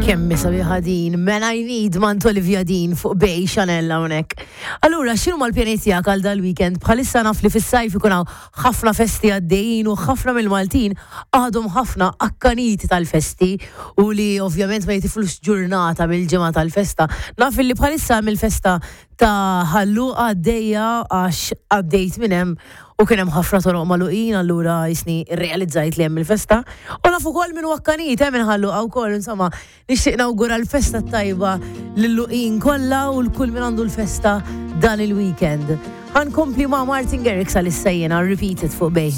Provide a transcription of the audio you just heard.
Kemm sabiħa din, Man I Need mant Olivia Dean fuq Bay Chanel hawnhekk. Allura, x'inhu mal-pjani tiegħek għal dal-weekend? Bħalissa naf li fis-sajf ikun hawn ħafna festi għaddejjin u ħafna mill-Maltin għadhom ħafna akkaniti tal-festi u li ovvjament ma jitiflux ġurnata mill-ġimgħa tal-festa. Naf li bħalissa hemm il-festa ta' Ħal Luqa għaddejja għax għaddejt minn hemm u kien hemm ħafna toroq magħluqin allura jisni rrealizzajt li hemm il-festa. U naf ukoll min hu akkanit eh minn Ħal Luqa wkoll, insomma, nixtieq nawgura l-festa t-tajba lil-Luqin kollha u l-kull min għandu l-festa dan il-weekend. Ħa nkompli ma' Martin Garrix għalissa jiena, repeat it fuq Bay.